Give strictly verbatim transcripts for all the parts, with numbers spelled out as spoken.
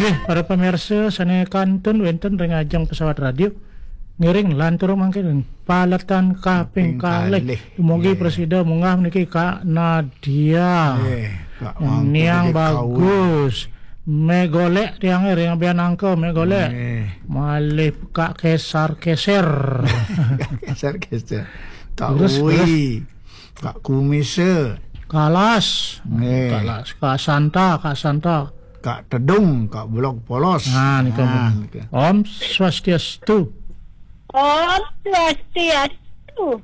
Eh, para pamirsa sané kantun wénten ring ajeng pesawat radio, ngiring lantur mangkin paletan kaping Kaping kalih. Kalih. Dumugi Nggih. Presida munggah niki Kak Nadia. Nggih, Kak Niang Mangku Bagus. Mé golek tiangé ring Bianangka, mé golek. Nggih. Malih Kak Kesar Keser. Keser-keser. Kak Terus, Uwi. Terus. Kak Kumise. Kalas. Nggih. Kalas. Kak Santa, Kak Santa. Kak Tedung, Kak Blog Polos. Nah, nika. Nah, nika. Om Swastiastu. Om Swastiastu.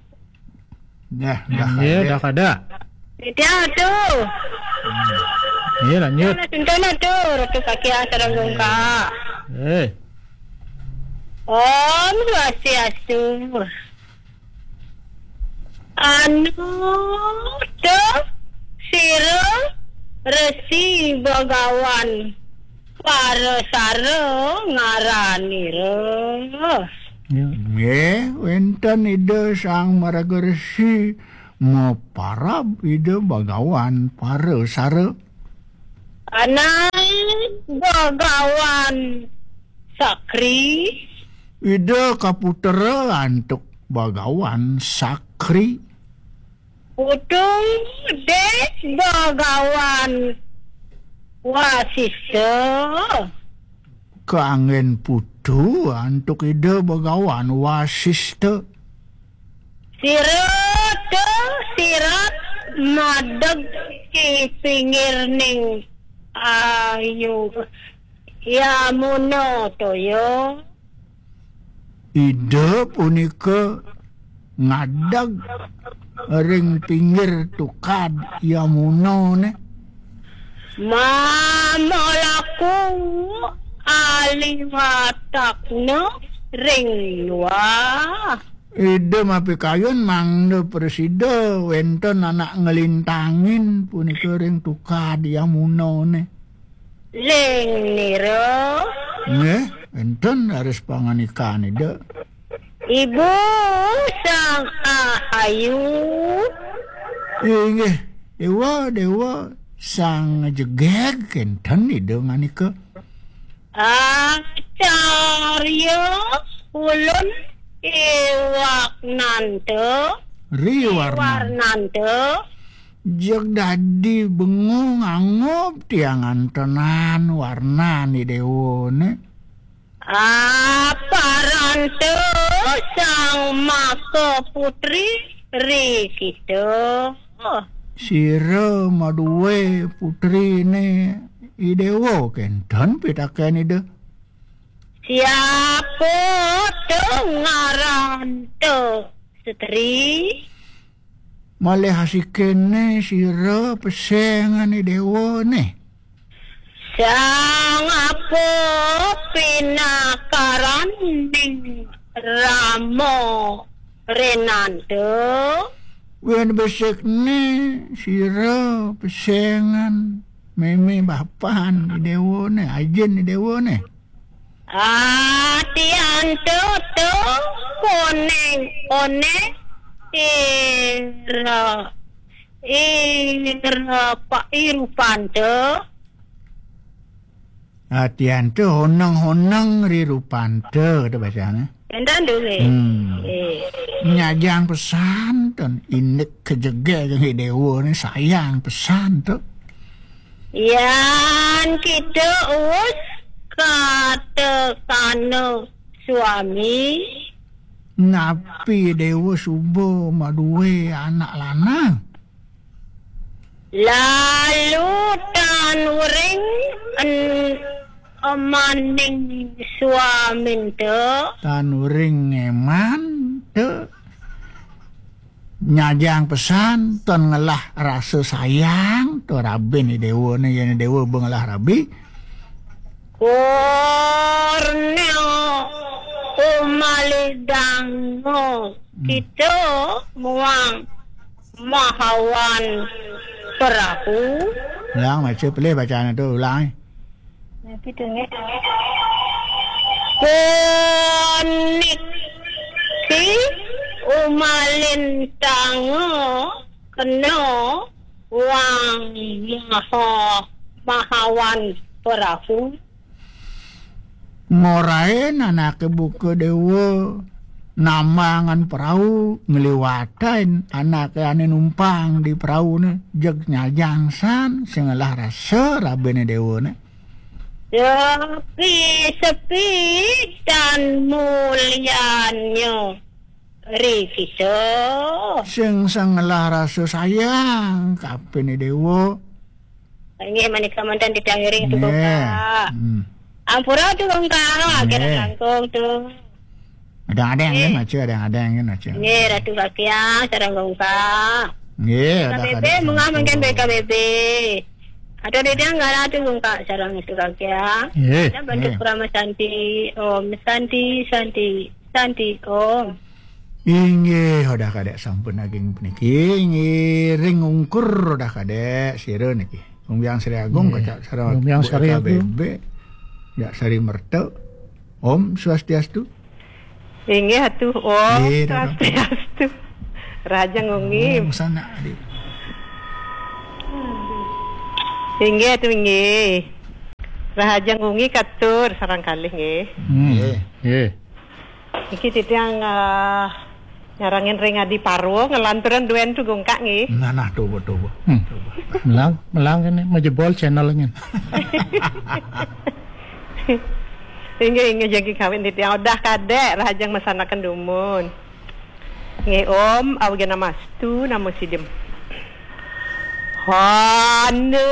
Dah, dah. Iya, ada. Dah ada. Tidak tuh. Iya, lanjut. Nah, contohnya tuh, Ratu Kaki Asarang Gongka. Eh. Om Swastiastu. Anu, to, sira Resi Bagawan Parasara ngaranira. Ya. Nggih, wénten Ida Sang Maraga Resi maparab Ida Bagawan Parasara. Anak Bagawan Sakri. Ida kaputra antuk Bagawan Sakri. Putu Dé Bagawan Wasista. Kaanggén putu antuk Ida Bagawan Wasista. Sira ta sirat madeg ing pinggir ning ayu Yamuna toya. Ida punika ngadeg ring pinggir tukad Yamunané. Mamalaku aliwatakna ring luah. Ida mapikayun mangda prasida wénten anak nglintangin punika ring tukad Yamunané. Ling nira. Nggih, wénten raris pangandikan Ida. Ibu Sang Ahayu. Inggih, Déwa, Déwa, Sang Jegég, kénten Ida ngandika. Acarya ulun Iwaknanta. Riwarnanta. Iwarnanta. Jeg dadi bengong angob tiang antenan warnan Idéwané. Aparanta Sang Maka Putri ri kita. Sira madué putriné Idéwa kénten pitakén Ida. Siapa tu ngaran tu setri? Malih asikéné sira pesengan Idéwané. Sang apa pinakaran ning Rama Renanda? Wén besekné sira pesengan mémé bapan Idéwané, ajin Idéwané. Atian tu tu koneng oneng ira ira pa irupanta. Atian tu honeng-honeng rirupanta, kata bacane. Enten tu, nggih. Hmm. Nggih. Nyajang pesan, ten indik kejege kang Dewa ni sayang pesan tu. Yan kita us kata kana suami. Napi Dewa suba madue anak lanang? Lalu tan uring en, emaning suaminta. Tan uring ngeman te nyajang pesan, ton ngelah rasa sayang, to rabin i Dewa ne, yen Dewa bengelah rabi. Kurnia umalidango kita muang mahawan perahu. Ulang, maca pelih bacaan tu, ulang. Napi tu, nggih? Konik si umalin tango kena wang maha, mahawan perahu. Ngorain anake buka dewa nambangan perahu, ngliwatin anake ane numpang di perahuné, jeg nyajang san sing ngelah rasa rabine dewane. Sepi-sepi dan muliannya ri sisa. Sing sang ngelah rasa sayang kapine dewa. Inggih, menika manten titiang ngiring, Tugung Kak. Hmm. Ampura, Tugung Kak, kira langkung, tuh. Ada-ada yang lain aja, ada-ada yang lain aja. Nggih, Ratu Bagia, sareng Tugung Kak. Nggih, ada K B B, ada mungah mangkin B K B B. Ada di dia nggak ada, Tugung Kak, sareng Ratu Bagia. Nggih. Ada bantu Purama Santi, Om Santi, Santi, Santi, Om. Inggih, udah kadek sampun ageng puniki, ngiring ungkur udah kadek sira niki. Umbiang Sri Agung, kacak sareng Umbiang Sri Agung. K B B. Ya, Sari Merta. Om Swastiastu. Inggih atuh, Om Swastiastu. Raja Ngungi. Om sana, Adik. Inggih atuh, inggih. Raja Ngungi katur sareng kalih, nggih. Hmm. Nggih. Nggih. Iki titiang, eh, nyarengin ring Adi Parwa, ngelanturan duen Tugung Kak, nggih. Nah, nah, tuh, tuh. Hmm. Melang, melang ini, majebol channel ini. Inggih, inggih, jagi kawin titiang. Udah kadek, rahajeng masanaken dumun. Nggih, Om, awigena mastu, namo sidem. Hana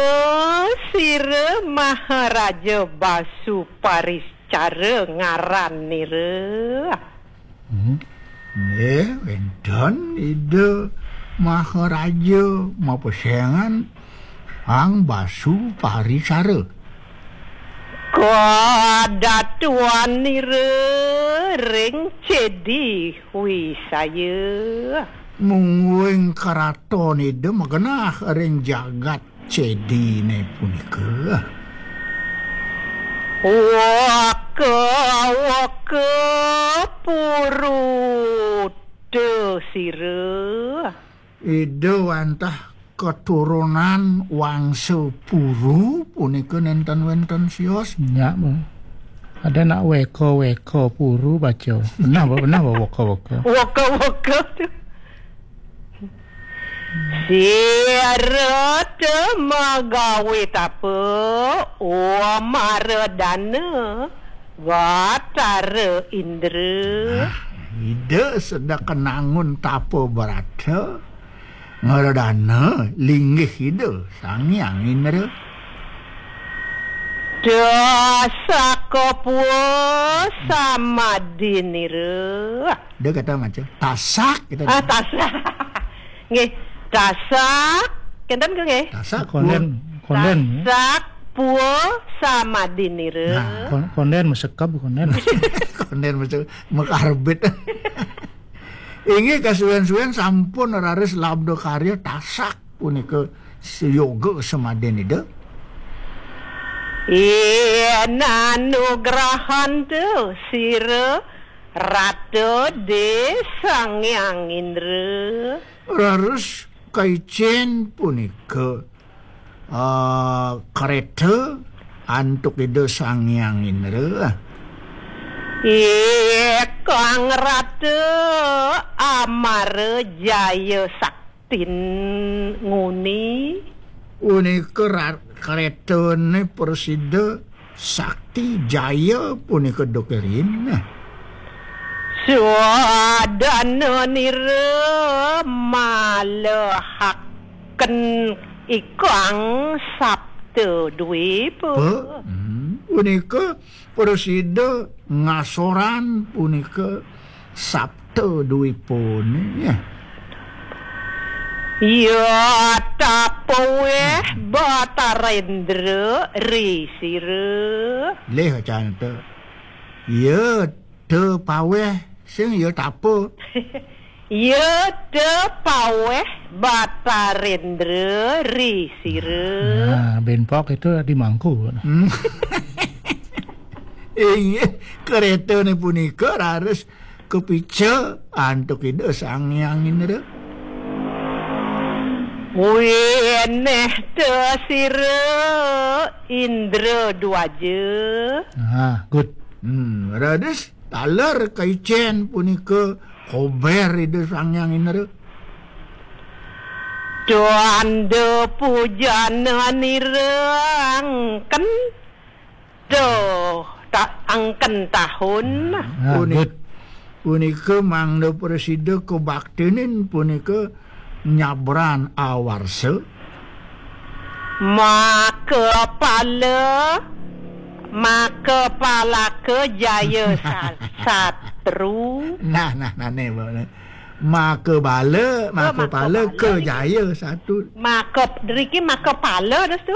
sira Maharaja Basu Paris cara ngaran nira. Hmm. Nggih, wénten Ida Maharaja mapesengan Ang Basu Paricara. Kadatuan nira ring Cedi Wisaya. Mungguing karaton Ida magenah ring jagat Cedine punika. Waka-waka puruta sira. Ida wantah keturunan wangsa Puru punika nénten wénten sios. Nya, Bu. Ada nak weka-weka Puru baca. Pernah, Bu? Pernah, Bu? Weka-weka. Weka-weka tu. Sira temagawe tapa, Wamaradana, Batara Indra. Ah, Ida sedek kenangun tapa brata, ngaradana linggih Ida Sang Hyang Indra. Dasakapua samadinira. Dia kata macam tasak kita. Ah, tasak. Nggih, tasak. Kenten ke nggih? Tasak. Konden, konden. Tasak pua samadinira. Nah. Kon-, konden mesekap, konden. Konden mesek mekarbit. Inggih kasuwen-suwen sampun raris labda karya tasak punika yoga samadin Ida. Yen anugrahan tu sira Ratu Dé Sang Hyang Indra. Raris kaicén punika, ah, kereta antuk Ida Sang Hyang Indra. Ikang Ratu Amara Jaya Saktin nguni. Punika ra-, keretané prasida Sakti Jaya punika dokerin. Swadana nira malahaken ikang Sapta Dwipa. Pa, hmm, punika prasida ngasoran punika Sapta Dwipané, ya. Ya tapaweh Batarendra ri sira. Lih, Canta. Ya tapaweh sing ya tapa. Ya tapaweh Batarendra ri sira. Nah, benpok itu di mangku. Hmm. Inggih, keretané punika raris kapica antuk Ida Sang Hyang Indra. Weneh ta sira Indra Dwaja. Ah, good. Hmm, raris taler kaicén punika kober Ida Sang Hyang Indra. Tanda pujananira angken, duh, ta-, angken tahun. Nah, Puni-, good. Punika mangda prasida kabaktinin punika nyabran awarsa. Makapala, makapalaka jaya sa-, satru. Nah, nah, nah, nih, Mbak. Makabala, oh, makapala, makapala kajaya satru. Maka, driki makapala, das tu?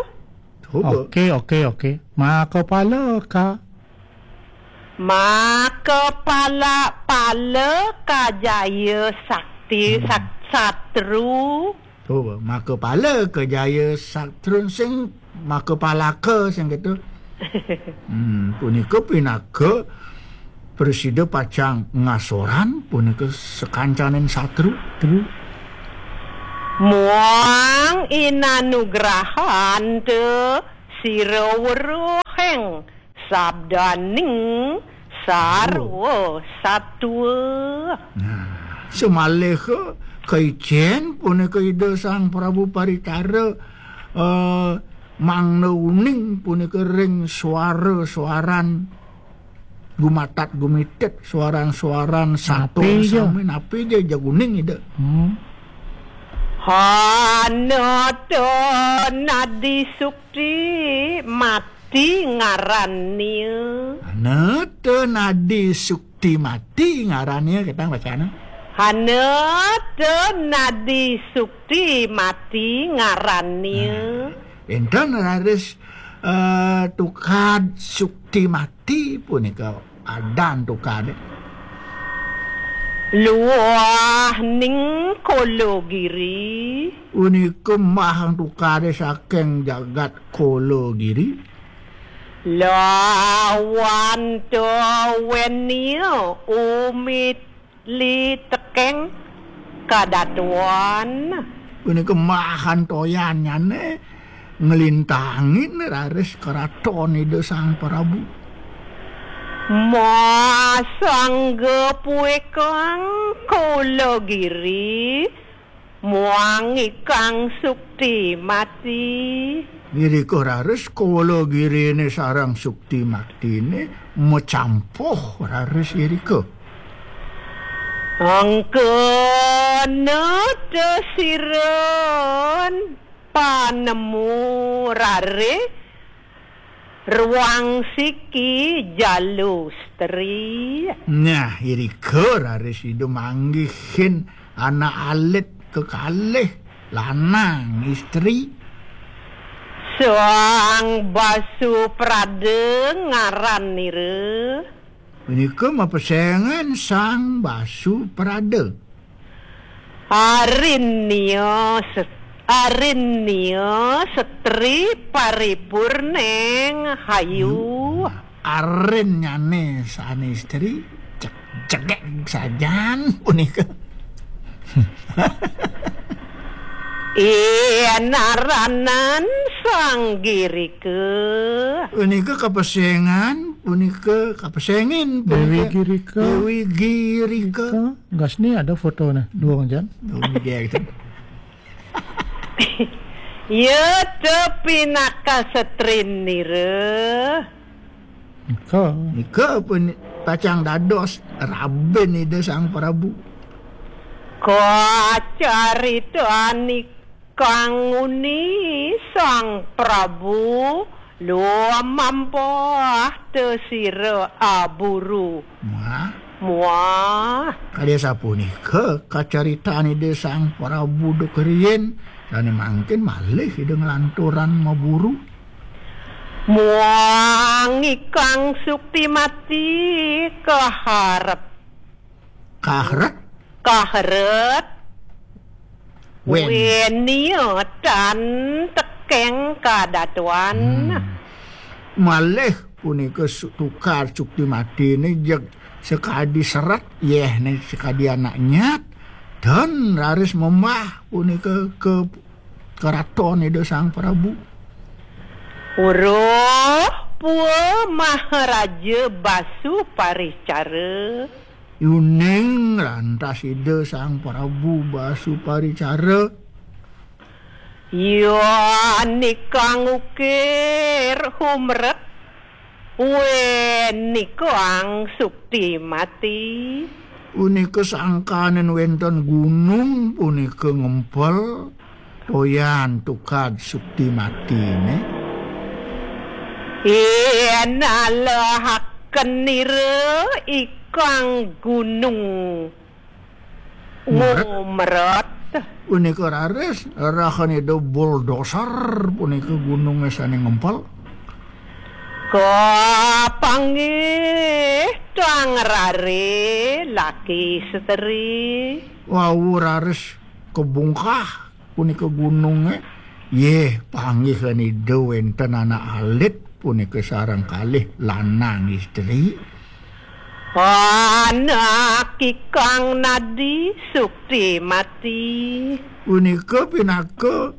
Coba. Okey, okey, okey. Makapala ka. Makapala, pala kajaya sakti, hmm, sak-, satru. Tu, makapala kajaya satru sing makapalaka sing gitu. Hmm, punika pinaka prasida pacang ngasoran punika sakancaning satru. Tru. Muang inanugrahan te sira weruhing sabdaning sarwa satua. Nah, samaliha kaicén punika Ida Sang Prabu Paritara, eh, mangda uning punika ring suara-suaran gumatat gumitit, suaran-suaran satua napi ja? Sami napi ja, jeg uning Ida. Hmm. Hanata nadi sukti mati ngarannya. Hanata nadi sukti mati ngarannya, kita bacana. Hanata nadi sukti mati ngarannya. Nah, enten raris, eh, tukad sukti mati punika adan tukade. Luah ning Kologiri. Punika mahang tukade saking jagat Kologiri. Lawan to wenio umit li tekeng kadatuan. Punika mahan toyannyane nglintangin raris keraton Ida Sang Prabu. Masangga puekang Kologiri muang ikang sukti mati. Irika raris Kologirine sareng sukti matine macampuh raris irika. Angkana tesiran panemu rare ruang siki jalu steri. Nah, irika raris Ida manggihin anak alit kekalih lanang istri. Sang Basu Prada ngaran nira. Punika mapesengan Sang Basu Prada. Arinya set-, arinya setri paripurneng hayu. Arinnyane sane istri cek-, cekek sajan punika. Iya naranan Sang Girika. Punika kapesengan, punika kapesengin, Dewi punika Girika. Dewi Girika. Girika. Gasne ada fotone, dua jan. Dua jan gitu. Ya te pinaka setrin nira. Nika. Nika pun pacang dados rabin Ida Sang Prabu. Kacaritaning kang uni Sang Prabu lumampah te sira aburu. Wah. Muah. Kadi sapunika kacaritan Ida Sang Prabu duk riin, sane mangkin malih Ida nglanturan maburu. Muang ikang sukti mati kaharep. Kahrep? Kahrep. Wen. Wen niatan tekeng kadatuan. Hmm. Malih punika su-, tukad sukti matine jeg sakadi seret, yehne sakadi anak nyat, dan raris memah punika ke keraton Ida Sang Prabu. Uruh, Pua Maharaja Basu Paricara. Uning lantas Ida Sang Prabu Basu Paricara. Yan ikang ukir humret, wen ikang sukti mati. Punika sangkaning wenten gunung punika ngempel, toyan tukad sukti matine. Yen alehaken nira ikang gunung Ngumret. Ngumret. Punika raris, rahan Ida bulldozer, punika gununge sane ngempel. Kapanggih tang rare laki seteri. Wau raris kebungkah punika gununge. Yeh, panggihan Ida wenten anak alit punika sareng kalih lanang istri. Anak ikang nadi sukti mati. Punika pinaka,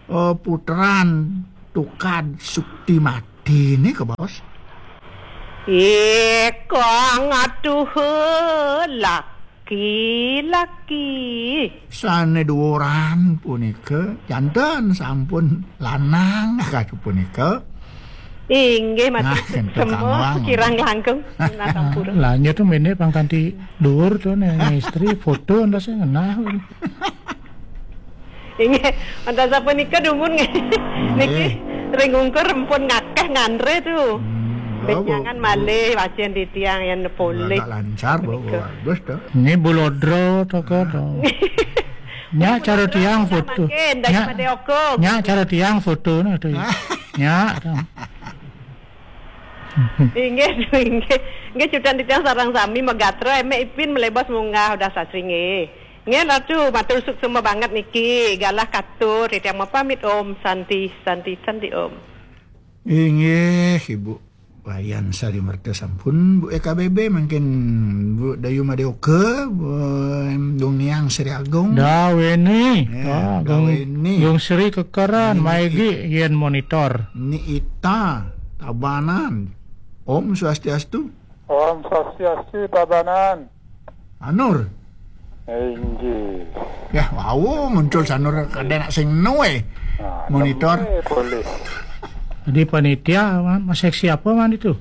eh, putran tukad sukti mati nika, Bos. Ikang atuha laki-laki. Sane duuran punika janten sampun lanang kadu punika. Inggih, matur Nah, suksema, kento kamang. Kirang langkung. Nah, sampura. Lah, nya tu mene pang kanti dhuwur tu, ne, ne istri, foto ndak sing ngenah. Inggih, wonten sapunika dumun nggih. Niki Nggih. Ring ungkur empun ngakeh ngantre tu. Hmm, Mbek oh, nyangan bu-, malih wacen titiang yen polih. Agak lancar, Bu, Menika. Bagus tu. Ini bulodro toko to. Nya cara tiang foto. Mangke, ndang Nya, mate oko. Nya cara tiang foto nah tu. Nya to. Inggih, inggih. Inggih, cutan titiang sareng sami megatra, emek ipin melebos munggah udah sasri nggih. Nggih, Ratu, matur suksema banget niki. Galah katur, titiang mapamit, Om Santi, Santi, Santi, Om. Inggih, Ibu Wayan Sari Merta sampun, Bu E K B B, mungkin Bu Dayu Madeoka, Bu Dung Niang Sri Agung. Daweni. Ya, Ah, Gung, Daweni. Gung Sri Kekeran, Ini maigi yen monitor. Ni Ita, Tabanan. Om Swastiastu. Om Swastiastu, Tabanan. Anur. Inggih. Ya, wau muncul Sanur kadang sing nue. Nah, Monitor. Boleh, boleh. Jadi panitia, Ma-, seksi apa, Man, itu?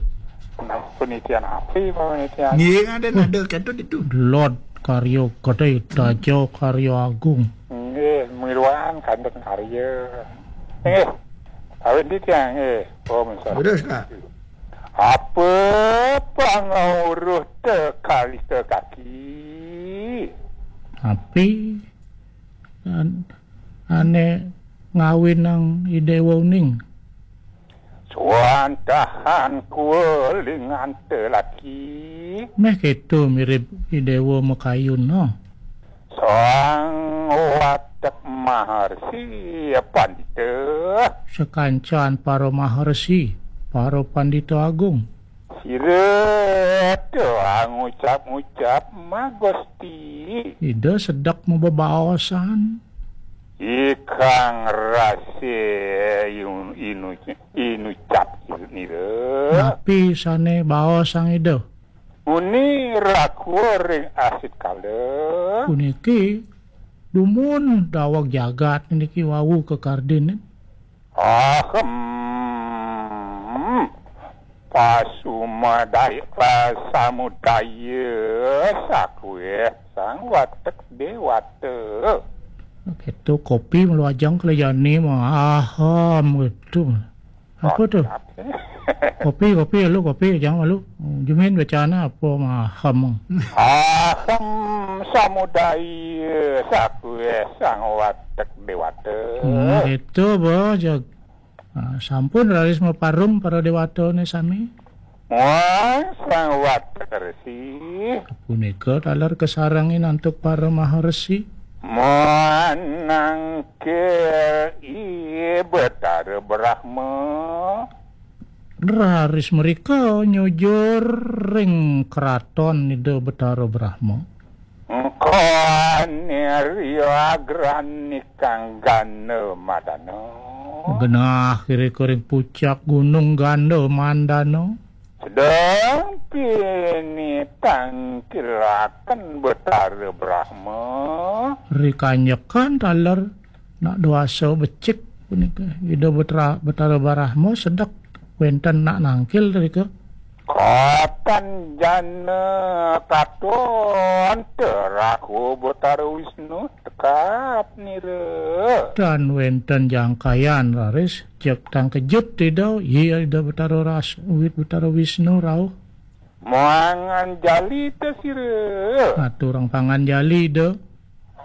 Nah, panitia apa, panitia? Nggih, ada, ada, kata itu. Lord Karyo Gede, Dajo Karyo Agung. Nggih, miruan kandhen karya. Nggih. Awit ndi tiyang, nggih. Oh, menika. Terus, Kak. Apa pangawruh tekalih tekaki? Api an-, ane ngawinang Idewa Uning. Suantahan kueling ante laki. Meh keto mirip Idewa Mekayun, no. Sang Watek Maharsi, Pandita. Sekancan para maharsi, para pandita agung. Sira doa ngucap-ngucap magosti. Ida sedek mabebaosan. Ikang rase inu-, inu-, inucap nira. Napi sane baosang Ida? Uni rakwa ring asit kala. Puniki dumun daweg jagat niki wau kekardin. Ahem. Pasumedaya, pasamudaya sakueh Sang Watek Dewata. Keto kopi melajang kelejane mah. Ahem, gitu. Apa tu? Kopi, kopi, lu kopi, jangan malu. Jemin bacaan apa mah, ham. Aham samudaya sakueh Sang Watek Dewata. Hmm, itu, Bos. Ah, sampun raris maparum para dewatane sami. Muang Sang Watek Resi. Punika taler kasarengin antuk para maharesi. Manangke i Betara Brahma. Raris mrika nyujur ring kraton Ida Betara Brahma. Engkane riyo agranikang gana madana. Genah irika ring pucak Gunung Gandamandana. Sedeng pinitangkilaken Betara Brahma. Rikanjekan taler nak dewasa becik punika. Ida Betara, Betara Brahma sedek wenten nak nangkil irika. Katon jana katon teraku Betara Wisnu tekap nira. Tan wenten jangkayan raris, jeg tangkejut Ida, iya Ida Betara Ras, Wit Betara Wisnu rauh. Mangan jali te sira. Ngaturang pangan jali Ida.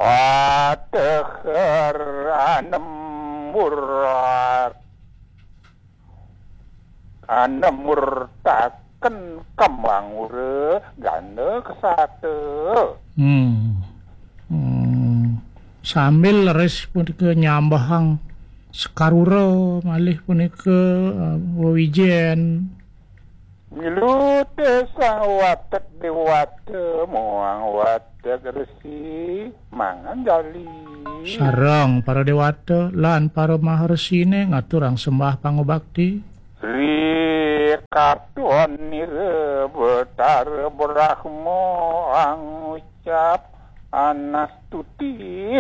Ateher anemur anemurtaken kembang ura ganda kesata. Hmm. Hmm. Sambil leres punika nyambahang sekarura malih punika, eh, wewijen. Milu te sang watek dewata muang watek resi mangan jali. Sareng para dewata lan para maharesine ngaturang sembah pangubakti. Ri katon nira Betara Brahma angucap anastuti.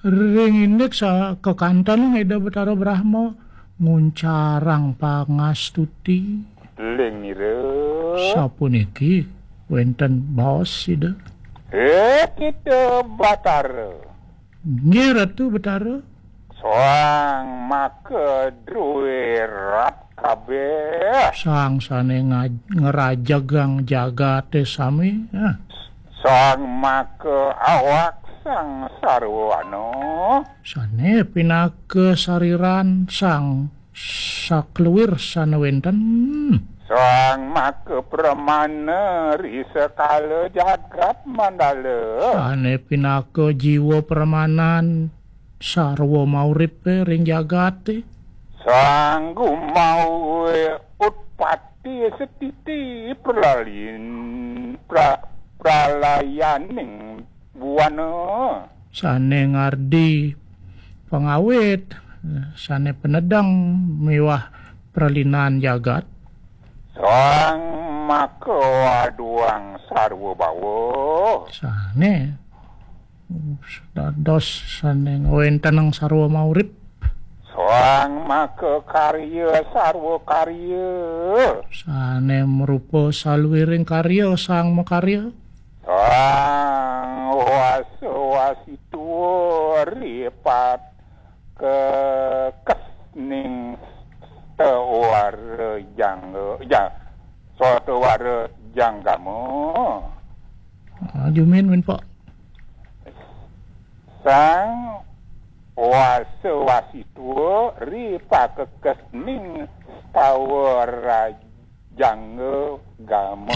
Ring indik sa-, kekanten Ida Betara Brahma nguncarang pangastuti. Ling nira. Sapuniki wenten baos Ida. He kita Batara. Nggih, Ratu Betara. Sang maka druwe rap kabeh. Sang sane nga-, ngerajegang jagate sami, eh. Sang maka awak sang sarwana. Sane pinaka sariran sang sakluwir sane wenten. Sang maka pramana ri sekala jagat mandala. Sane pinaka jiwa pramanan sarwa mauripe ring jagate. Sang gumawe utpati setiti pralalin-, pra-, pralayaning buana. Sane ngardi pangawit, sane penedeng miwah pralinan jagat. Sang maka aduang sarwa bawa. Sane dados sane ngwentenang sarwa maurip. Sang maka karya sarwa karya. Sane marupa saluiring karya sang makarya. Sang wasa wasitua ripat kekesning stawara jangga, ja-, stawara janggama. Ah, jumin, min, Pak. Sang wasa wasitua ri pakekesning stawara jangga gama.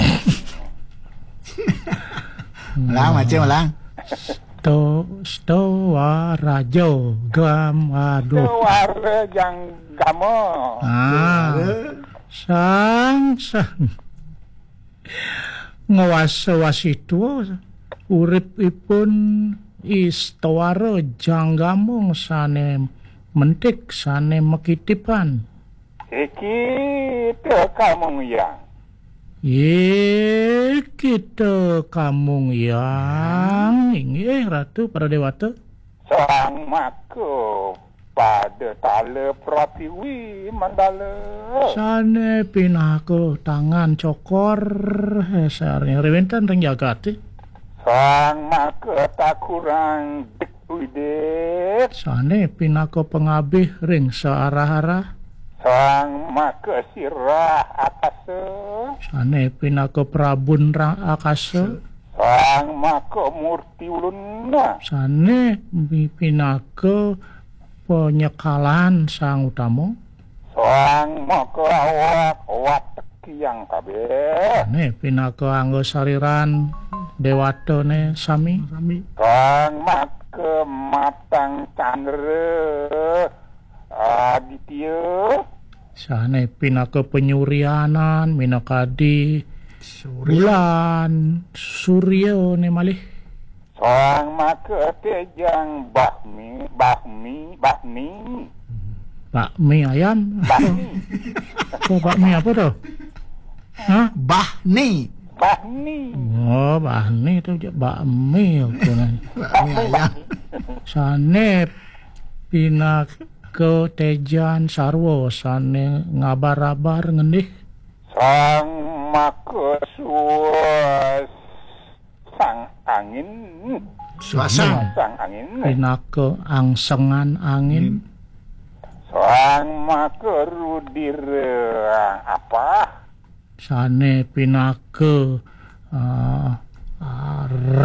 Ulang, macam ulang. Sto-, stawara jagama, aduh. Stawara janggama. Ah. Stawara. Sang, sang. Ngwasa wasitua, uripipun istawara janggama sane mentik, sane makitipan. Iki te kamungyang. Iki te kamungyang, inggih Ratu para dewata. Sang maka pada tala pratiwi mandala. Sane pinaka tangan cokor, eh, sareng riwenten ring jagate. Sang maka takurang dik widik. Sane pinaka pangabih ring saarah-arah. Sang maka sirah akasa. Sane pinaka prabun ra-, akasa. Sang maka murti ulun. Sane mi-, pinaka panyekalan sang utama. Sang maka awak watek tiang kabeh. Sane pinaka angga sariran dewatane sami. Sami. Sang maka matang candra aditya. Sane pinaka panyuryanan minakadi Surya. Bulan, suryane malih. Sang maka tejang bahmi, bahmi, bahmi. Bakmi ayam. Bakmi. Apa bakmi apa tuh? Hah? Bahni. Bahni. Oh, bahni itu je bakmi aku nanya. Bakmi ayam. Sane pinaka tejan sarwa sane ngabar-abar ngendih. Sang maka suas sang angin. Suasang. Suasang angin. Pinaka angsengan angin. Sang maka rudir apa? Sane pinaka, eh,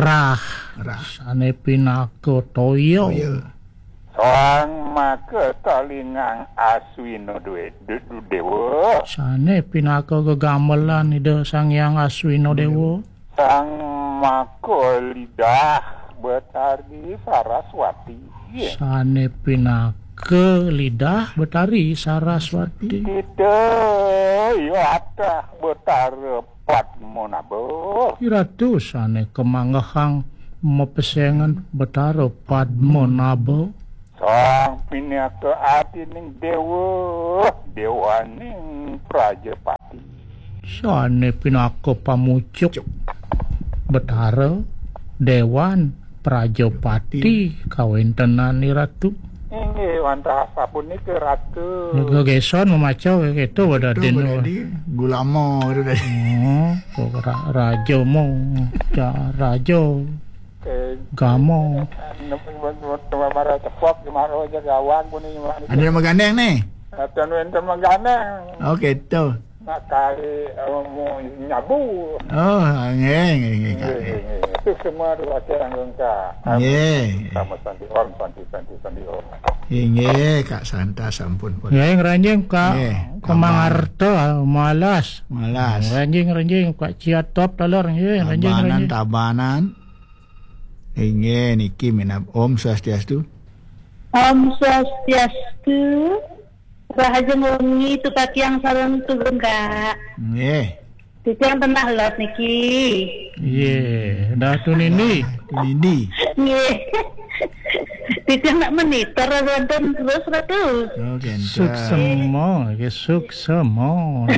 rah. Rah. Sane pinaka toya. Toya. Sang maka talingang aswina dwe-, du-, du-, dewa. Sane pinaka gegamelan Ida Sang Hyang Aswina Dewa. Sang maka lidah Betari Saraswati. Sane pinaka lidah Betari Saraswati. Kita yatah Betara Padmanaba. Iratu sane kamanggehang mapesengan Betara Padmanaba. Sang pinaka atining dewa, dewaning Prajapati. Sane pinaka pamucuk Betara Dewan Prajapati kawentenan Iratu. Inggih, wantah sapunika Ratu. Gegeson mamaca keto pada. Itu dina. Pada di gulama itu tadi. Oh, kok ra-, raja mo, ja-, raja. Eh, gamo. Mara cepok, mara aja gawang pun ini, mara. Ada yang magandeng nih? Ada yang magandeng. Oke, tuh. Nak kali, eh, mau nyabu. Oh, nggih, nggih, nggih, Kak. Nggih, nggih, nggih. Itu semua diwakil anggo Kak. Nggih. Sama Santi Om, Santi, Santi, Santi Om. Nggih, Kak Santa sampun. Nggih, ngranjing Kak. Nggih, Kamangarta, malas. Malas. Ngranjing, ngranjing Kak Ciatop taler, nggih, ngranjing, tabanan, ngranjing. Tabanan. Nggih, niki minab Om Swastiastu. Om Swastiastu. Rahajeng wengi tu katiang sareng tugun, Kak. Nggih. Titiang tenah lot niki. Nggih, dah tu nini. Tu nini. Nggih. Titiang nak monitor wonten terus, Ratu. Oh, genten. Suksema, nggih, suksema.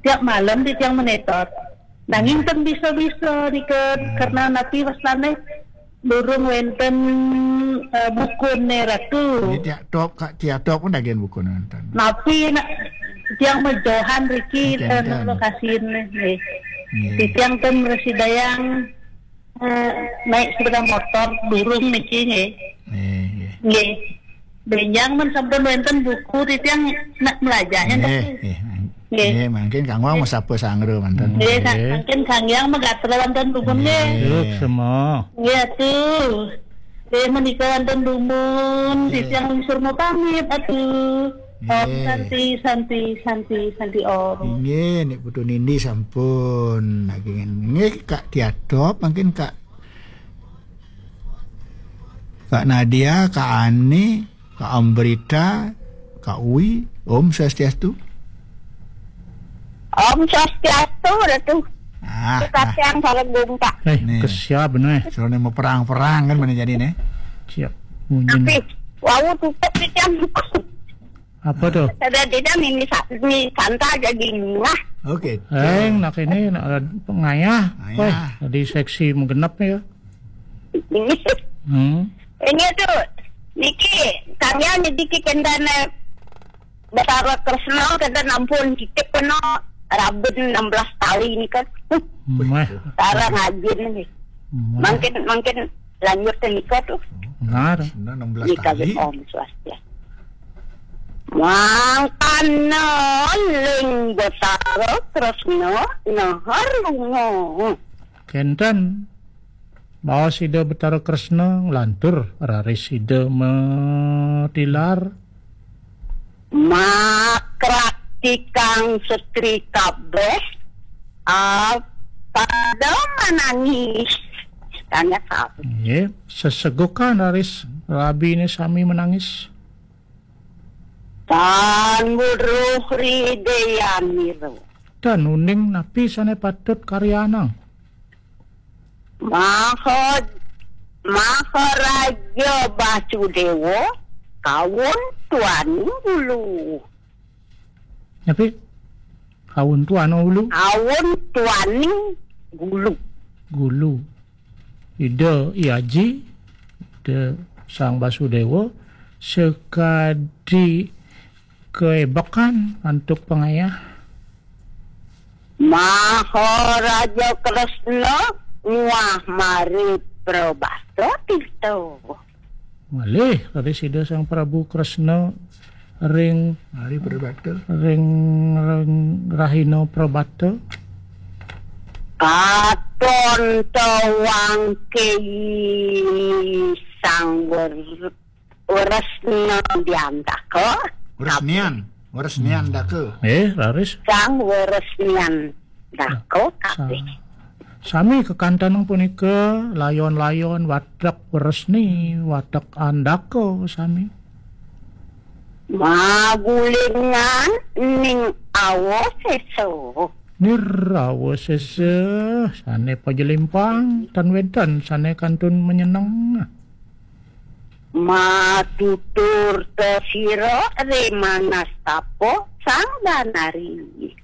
Tiap malam titiang monitor. Nanging ten bisa-bisa nika, karena napi wastane durung wenten, eh, bukune, Ratu. Ini tiap top, Kak, tiap top pun dagen bukune wenten. Napi nak tiang mejohan riki, eh, lokasine, nggih. Nggih. Titiang ten mresi dayang, eh, naik sepeda motor durung niki, nggih. Nggih, nggih. Nggih. Benjang men sampun wenten buku titiang nak melajah, ya, nggih, nggih. Nggih. Nggih, mangkin Kang Wang masapa sangra manten. Nggih, sa-, mangkin Kang Yang magatra wonten buku, nggih. Nggih. Suksema. Nggih, atuh. Nggih, menika wonten dumun, nggih, titiang lungsur pamit, atuh. Om, nggih. Santi, Santi, Santi, Santi Om. Inggih, Nik Putu Nindi sampun. Nggih, Kak Tiatop, mangkin Kak Kak Nadia, Kak Ani, Kak Ambrita, Kak Uwi, Om Swastiastu. Om Swastiastu, Ratu. Ah, nah. Katiang sareng Bungkak. Eh, nih. Kesiap, nih. Soalnya mau perang-perang kan mana jadi, nih? Siap. Tapi, wau tutup di jam. Apa tuh? Ada tidak mini sa-, mini santa jadi murah. Oke. Eh, nak ini, nak ada pengayah. Ayah. Weh, tadi seksi menggenap ya. Ini. Hmm. Ini tuh, niki, kami niki kendane Betara Kresna, kenten ampun, cicip kena rabun enam belas tali ini kan. Meh. Tara ngajin ini. Meh. Mangkin, mangkin lanjut ke nika tuh. Benar. Sudah enam belas nika tali. Om Swastiastu. Mangkana ling Betara Kresna nahar lunga. Kenten baos Ida Betara Kresna nglantur raris Ida matilar. Makraktikang setri kabeh, ah, pada menangis. Tanya kau. Nggih, sesegukan raris rabi ini sami menangis. Tan weruh rideyamira. Dan uning napi sane patut karyanang? Maha-, Maharaja Basudewa, kawun tuaning gulu. Nyapi? Aun tuan ulu. Aun tuaning gulu. Gulu. Ida Aji, Ida Sang Basudewa, sakadi kaebekan antuk pangayah. Maharaja Kresna muah Mari Prabata tirta. Malih raris Ida Sang Prabu Kresna ring Mari Prabata. Ring, ring rahina Prabata. Katon tawang kei Sang Wer-, Wresna Diantaka. Wresnian, Wresnian Daka. Eh, raris. Sang Wresnian Daka. Sa-, kabeh. Sami kakantenang punika layon-layon watek Wresni, watek Andaka sami. Magulingan ning awasesa. Nirawasesa, sane pajelimpang, tan wenten sane kantun menyeneng. Matutur tesira ri manastapa Sang Danari.